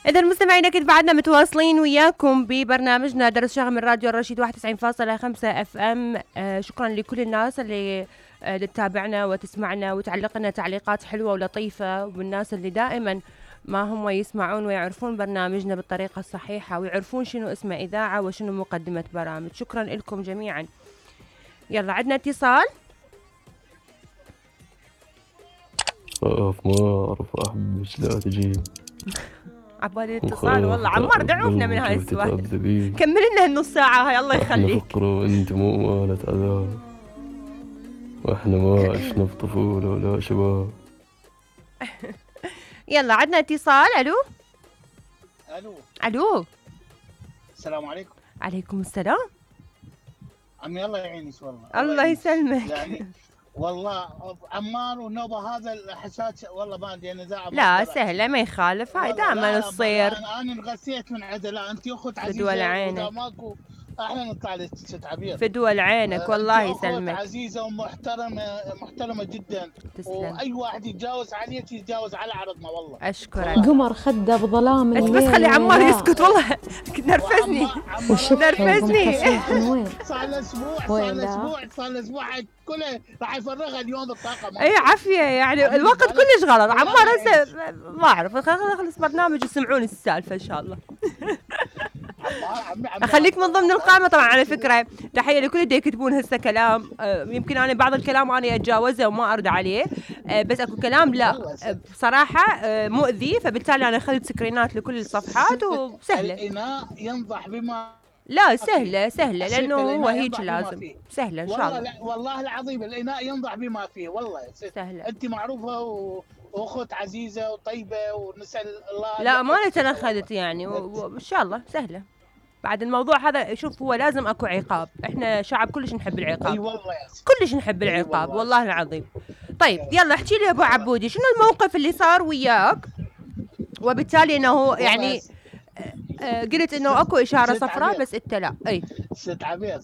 إذا مستمعينا أكيد بعدنا متواصلين وياكم ببرنامجنا درس شغل من راديو الرشيد 91.5 اف ام. شكرا لكل الناس اللي تتابعنا وتسمعنا وتعلق لنا تعليقات حلوة ولطيفة، والناس اللي دائما ما هم يسمعون ويعرفون برنامجنا بالطريقة الصحيحة ويعرفون شنو اسمه إذاعة وشنو مقدمة برامج. شكرا لكم جميعا. يلا عندنا اتصال. ما أعرف أحبك لا تجي عبالي الاتصال والله. عمار دعوفنا من هاي السؤال، كمل لنا النص ساعة هاي الله يخليك. احنا فقر وانت مو مالة عذاب، واحنا ما عشنا بطفولة ولا شباب. يلا عندنا اتصال. الو الو الو، السلام عليكم. عليكم السلام. عمي الله يعينك والله. الله يسلمك. يعني والله عمار والنوبه هذا الحساس والله ما ادري انا لا سهله ما يخالف، هاي دائما تصير. انا انغثيت من عدة. لا انت اخت عزيزه فدوى لعينك. ماكو احنا نطلع لك ست عبير. فدوى لعينك والله يسلمك. اخت عزيزه ومحترمه جدا. تسلم. واي واحد يتجاوز عليك يتجاوز على عرضنا والله. اشكرك. قمر خده بظلام الليل. بس خلي عمار يسكت والله نرفزني نرفزني. صار له اسبوع كله راح يفرغها اليوم الطاقه. اي عافيه يعني الوقت كلش غلط. عمار هسه ما اعرف خلص برنامج يسمعون السالفه ان شاء الله. اخليك من ضمن القائمه طبعا. على فكره تحيه لكل اللي يكتبون هسه كلام. يمكن انا بعض الكلام انا اتجاوزه وما ارد عليه، بس اكو كلام لا بصراحه مؤذي، فبالتالي انا اخذت سكرينات لكل الصفحات وسهله. الاناء ينضح بما لا سهله لانه هو هيك لازم سهله ان شاء الله. والله العظيم الاناء ينضح بما فيه والله سهله. انت معروفه واخت عزيزه وطيبه ونسال الله. لا ما انا اخذت يعني وان شاء الله سهله. بعد الموضوع هذا شوف هو لازم اكو عقاب، احنا شعب كلش نحب العقاب. اي والله كلش نحب العقاب والله العظيم. طيب يلا احكي لي ابو عبودي شنو الموقف اللي صار وياك وبالتالي انه يعني قلت انه اكو اشاره صفراء بس انت لا. اي ست عبير